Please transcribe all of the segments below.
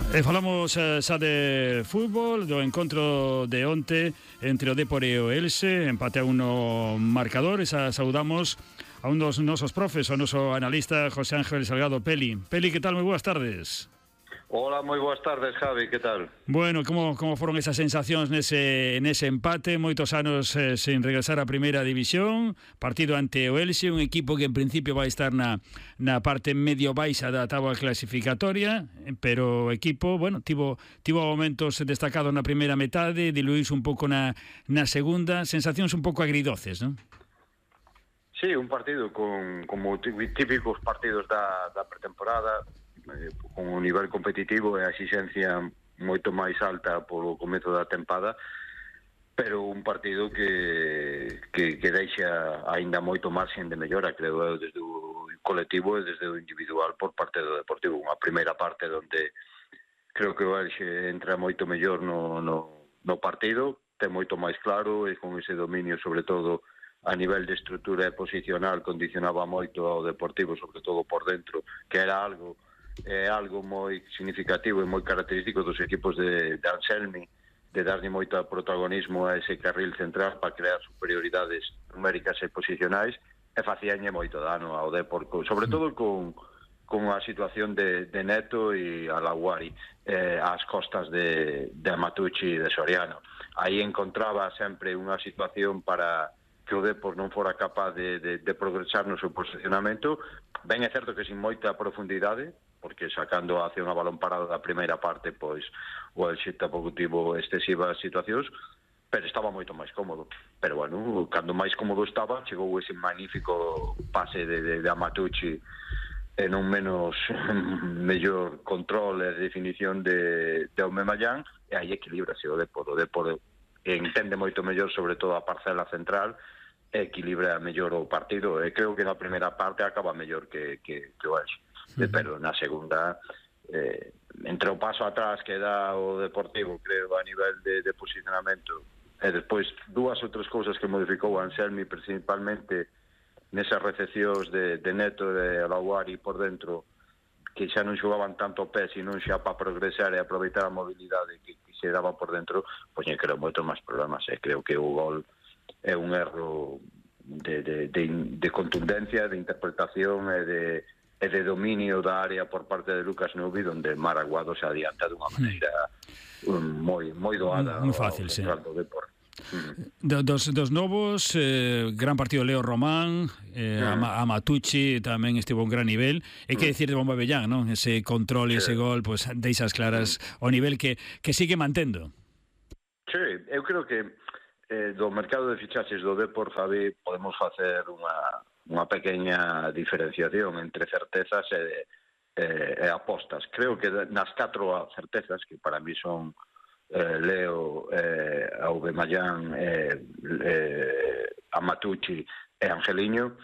Falamos xa de fútbol, do encontro de onte entre o Dépor e o Elxe, empate a uno marcador, e saudamos a un dos nosos profes, o noso analista José Ángel Salgado Peli. Peli, que tal? Moi boas tardes. Hola, moi boas tardes, Javi, que tal? Bueno, como foron esas sensacións nese empate, moitos anos sen regresar á primeira división, partido ante o Elxe, un equipo que en principio vai estar na parte medio baixa da táboa clasificatoria, pero o equipo, bueno, tivo momentos destacados na primeira metade, diluíse un pouco na segunda, sensacións un pouco agridoces, non? Sí, un partido como típicos partidos da pretemporada, con un nivel competitivo e a exixencia moito máis alta polo comezo da tempada, pero un partido que deixa aínda moito marxen de mellora, creo eu, desde o colectivo e desde o individual por parte do Deportivo. Unha primeira parte onde creo que o Elxe entra moito mellor no partido, ten moito máis claro, e con ese dominio, sobre todo a nivel de estrutura e posicional, condicionaba moito ao Deportivo, sobre todo por dentro, que era algo moi significativo e moi característico dos equipos de Anselmi, de darlle moito protagonismo a ese carril central para crear superioridades numéricas e posicionais, e facíanlle moito dano ao Depor, sobre todo con a situación de Neto e Alaguari ás costas de Amatucci e de Soriano. Aí encontraba sempre unha situación para que o Depor non fora capaz de progresar no seu posicionamento. Ben é certo que sin moita profundidade, porque sacando hacia unha balón parado da primeira parte, pois o Elxe tampouco tivo excesivas situacións, pero estaba moito máis cómodo. Pero bueno, cando máis cómodo estaba, chegou ese magnífico pase de Amatucci e non menos mellor control e definición de Aubameyang, e aí equilibrase o Depor. O Depor entende moito mellor, sobre todo a parcela central, e equilibra mellor o partido, e creo que na primeira parte acaba mellor que o Elxe. Pero na segunda, entre o paso atrás que dá o Deportivo, creo, a nivel de posicionamento, e despois dúas outras cousas que modificou o Anselmi, principalmente nesas recepcións de Neto e de Alaguari por dentro, que xa non xogaban tanto pé, sino xa para progresar e aproveitar a mobilidade que se daba por dentro, pois creo moito máis problemas, e creo que o gol é un erro de contundencia, de interpretación e de dominio da área por parte de Lucas Nubi, onde Maraguado se adianta dunha maneira moi doada moi fácil, sí. Do Depor. Dos novos, gran partido Leo Román, Amatucci tamén estivo a un gran nivel, e que decir de Aubameyang, non? Ese control e ese gol, pues deixas claras o nivel que sigue mantendo. Sí, eu creo que do mercado de fichaxes do Depor, Javi, podemos facer unha pequena diferenciación entre certezas e apostas. Creo que nas 4 certezas, que para mí son Leo, Aubameyang, Amatucci e Angeliño,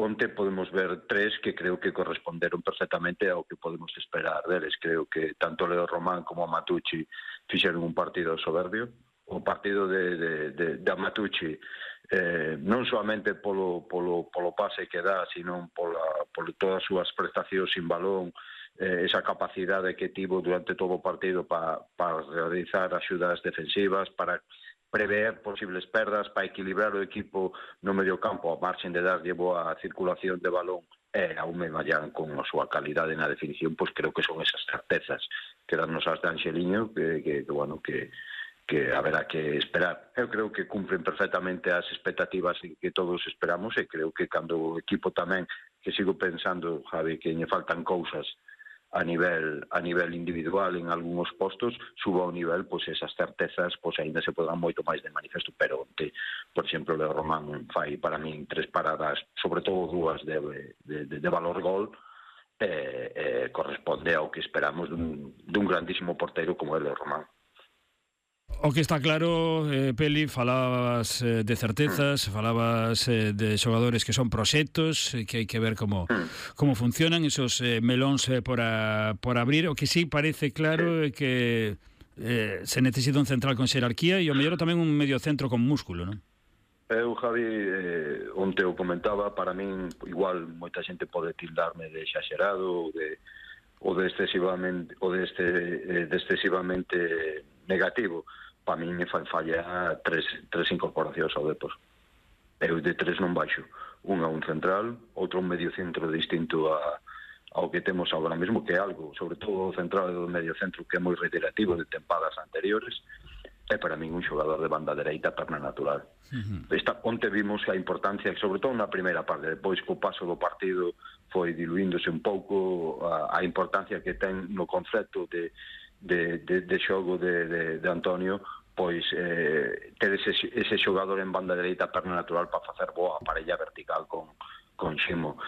onte podemos ver 3 que creo que corresponderon perfectamente ao que podemos esperar deles. Creo que tanto Leo Román como Amatucci fixeron un partido soberbio. O partido de Amatucci, non solamente polo pase que dá, sino por todas as súas prestacións sin balón, esa capacidade que tivo durante todo o partido para realizar axudas defensivas, para prever posibles perdas, para equilibrar o equipo no medio campo, a marxen de darlle boa circulación de balón, e a Aubameyang con a súa calidade na definición, pois creo que son esas certezas que darnos as de Angeliño, que haberá que esperar. Eu creo que cumpren perfectamente as expectativas que todos esperamos, e creo que cando o equipo tamén, que sigo pensando, Javi, que lle faltan cousas a nivel individual en algúns postos, suba ao nivel, pois esas certezas pois aínda se podan moito máis de manifesto, pero onte, por exemplo, Leo Román fai para min 3 paradas, sobre todo 2 de valor gol, corresponde ao que esperamos dun grandísimo porteiro como é Leo Román. O que está claro, Peli, falabas de certezas, falabas de xogadores que son proxectos, que hai que ver como funcionan esos melóns por abrir. O que sí parece claro é que se necesita un central con xerarquía e o mellor tamén un mediocentro con músculo, non? Eu, Javi, onte o comentaba, para min igual moita xente pode tildarme de exagerado de excesivamente negativo. Para min me fan falla tres incorporacións ao Depor. Eu de tres non baixo. Un central, outro un medio centro distinto ao que temos agora mesmo, que é algo, sobre todo o central e o medio centro, que é moi reiterativo de tempadas anteriores. É para min un xogador de banda dereita perna natural. Onte vimos a importancia, sobre todo na primeira parte, depois co paso do partido foi diluíndose un pouco a importancia que ten no concepto de xogo de Antonio, pois ter ese xogador en banda dereita perna natural para facer boa parella vertical con Ximo,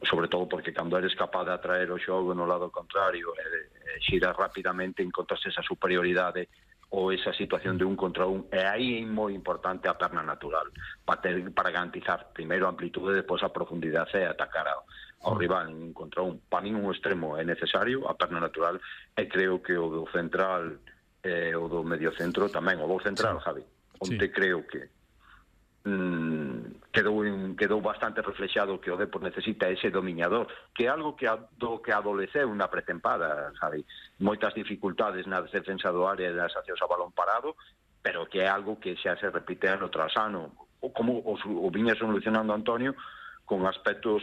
sobre todo porque cando eres capaz de atraer o xogo no lado contrario e xirar rapidamente, encontras esa superioridade ou esa situación de un contra un, e aí é moi importante a perna natural para garantizar primeiro a amplitude e depois a profundidade e atacar ao rival en un contra un. Para min un extremo é necesario, a perna natural, e creo que o do central o do medio centro tamén, o do central, Javi, onde creo que quedou bastante reflexado que o Depor necesita ese dominador, que é algo que adoleceu na pretempada, Javi. Moitas dificultades na defensa do área e das accións a balón parado, pero que é algo que xa se repite ano tras ano, como o viña solucionando Antonio con aspectos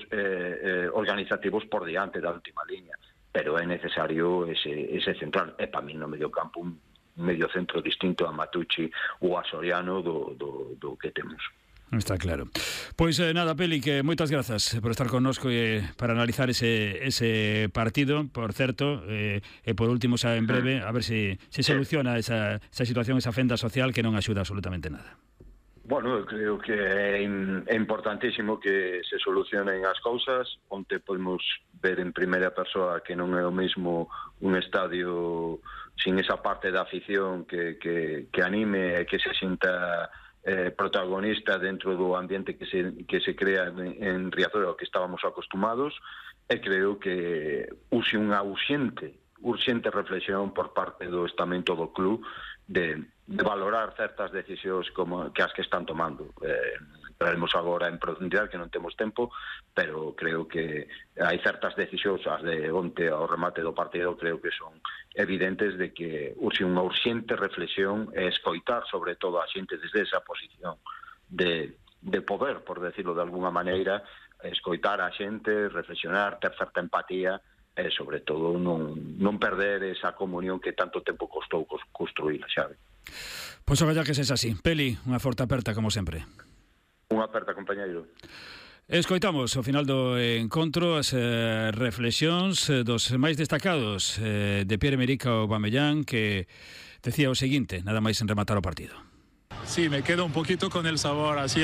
organizativos por diante da última liña, pero é necesario ese central. É para mí no medio campo un medio centro distinto a Matucci ou a Soriano do que temos. Está claro. Pois nada, Peli, que moitas grazas por estar connosco e para analizar ese partido, por certo, e por último xa en breve, a ver se soluciona esa situación, esa fenda social que non axuda absolutamente nada. Bueno, eu creo que é importantísimo que se solucionen as cousas. Onte podemos ver en primeira persoa que non é o mesmo un estadio sin esa parte da afición que anime e que se sinta protagonista dentro do ambiente que se crea en Riazor, ao que estábamos acostumados, e creo que use unha urxente reflexión por parte do estamento do club de valorar certas decisións como que as que están tomando. Entraremos agora en profundidade, que non temos tempo, pero creo que hai certas decisións, as de onte ao remate do partido, creo que son evidentes de que urxe unha urxente reflexión e escoitar sobre todo a xente desde esa posición de poder, por decirlo de alguna maneira, escoitar a xente, reflexionar, ter certa empatía e, sobre todo, non perder esa comunión que tanto tempo costou construir, Xavi. Pois agora que sexa así. Peli, unha forte aperta, como sempre. Unha aperta, compañeiro. Escoitamos ao final do encontro as reflexións dos máis destacados de Pierre-Emerick Aubameyang, que decía o seguinte, nada máis en rematar o partido. Sí, me quedo un poquito con el sabor así